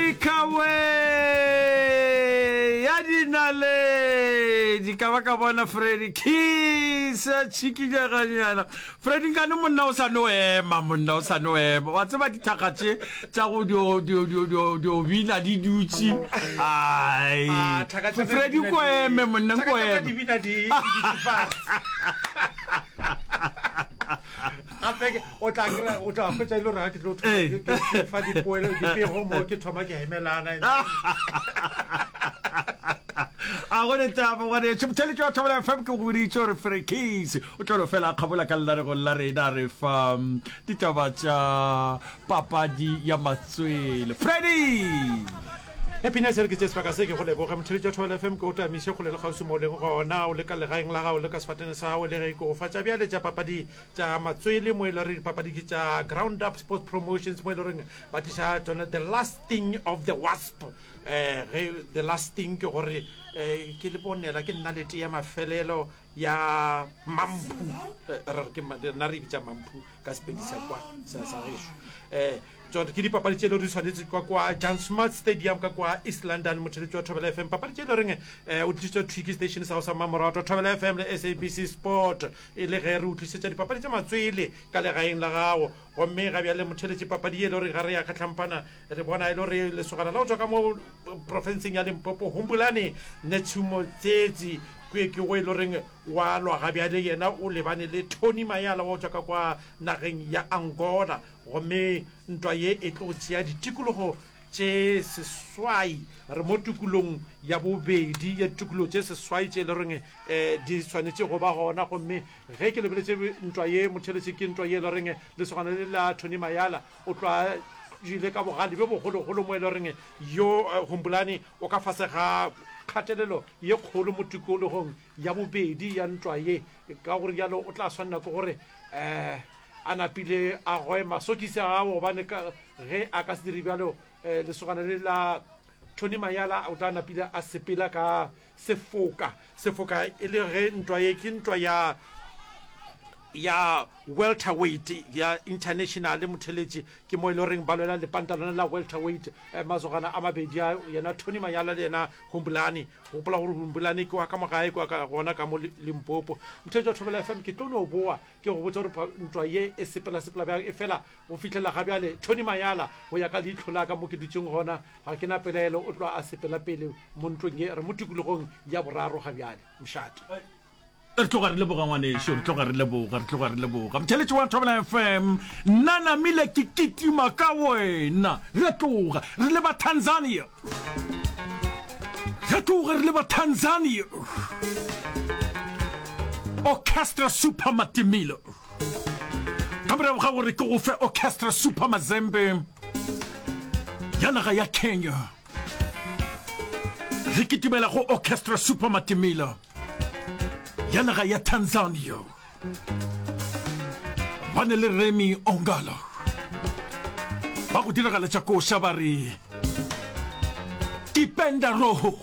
Afrika we ya dinaledi ka ba ka bona Freddy Kiss a tšhikinyeganyana Freddy nkane monna o sa no ema monna o sa no ema wa tseba dithakga tše tša go dio dio dio dio dio bina di dutše ai Ah, thaka tša ka Freddy di bina ko di- eme monna thaka ko tša ka eme di bina di di dutše fase. Gape ke- o tla kry-a o tla hwetša e le gore ga ke tlo thoma Ee. ke- ke- ke fa dipoelo dipego mo ke thoma ke emelana a go ne taba ngwaneso motheletši wa Thobela FM ke go boditše gore Frekis o tlo no fela a kgabola ka lenaregong la rena re fa mm, ditaba tša papadi ya matswele Freddy Happiness re ke tše sebaka se ke go leboge motheletši wa Thobela FM ke o tamiše kgole le kgauswi mo o leng gona o le ka legaeng la gago le ka sefateng sa gago le ge ke go fa tša bjale tša papadi tša matswele mo e le gore dipapadi ke tša Ground Up Sports Promotions mo e le goreng ba tliša tsone the last thing of the wasp um ge the last thing ke gore um ke le bonela ke nnalete ya mafelelo ya mamphu eh, re re ke nna re e bitša mamphu ka sepedi sa kwa sa sa gešo um tsone ke dipapadi tše le di swanetše kwa kwa Jan Smuts Stadium ka kwa East London motheletši wa Thobela FM papadi tše le reng um o tlišitšwe thwi ke station sa go sa mmamoratwa Thobela FM le SABC Sport E le ge re o tlišetša dipapadi tša matswele ka legaeng la gago. Gomme ga bjale motheletše papadi ye e le gore ga re ya kgahlampana, re bona e le gore lesogana la go tšwa ka mo profenseng ya Limpopo, Humbulani Netshumo Tsetsi, ke ke go e le goreng wa lwa ga bjale yena o lebane le Tony Mayala wa go tšwa ka kwa nageng ya Angola. Gomme ntwa ye e tlo tšea ditikologo tše seswai. Re mo tokolong ya bobedi ya ditokolo tše seswai tše e le goreng um di swanetše go ba gona. Gomme ge ke lebeletše ntwa ye, motheeletši, ke ntwa ye e le goreng lesogana le la Tony Mayala o tloga ile ka bogale bjo bogologolo mo e le goreng yo Humbulani o ka fase ga kgatelelo ye kgolo mo tikologong ya bobedi ya ntwa ye. Ka go rialo o tla swanela ke gore um a napile a goe masokisi a gago gobane ka Ge a ka se dire bjalo, lesogana le la Tony Mayala o tla napile a sepela ka sefoka. Sefoka e le ge ntwa ye ke ntwa ya ya welterweight ya international motheletši ke mo e le goreng ba lwela lepanta lona la welterweight eh, masogana a mabedi a yena Tony Mayala le yena Humbulani gopola gore Humbulani ke wa ka mogae kwa ka gona ka mo Limpopo motheletši wa Thobela FM ke tlo no boa ke go botša gore ntwa ye e sepela sepela bjang e fela Go fihlela ga bjale, Tony Mayala, go ya ka leihlo la ka mo ke dutšeng gona, ga ke na pelaelo o tloga a sepela pele mo ntlong ye. Re mo tikologong ya boraro ga bjale. Mošate. Re tloga re leboga ngwanešu, re tloga re leboga, re tloga re leboga. Motheeletši wa Thobela FM, nna namile ke kitima ka wena. Re tloga re leba Tanzania. Re tloga re leba Tanzania. Orchestra Super Matimilo. Ka morago ga gore ke go fe Orchestra Super Mazembe ya naga ya Kenya, re kitimela go Orchestra Super Matimela ya naga ya Tanzania. Ba ne le Remy Ongala ba go diragaletša koša ba re Kipenda Roho.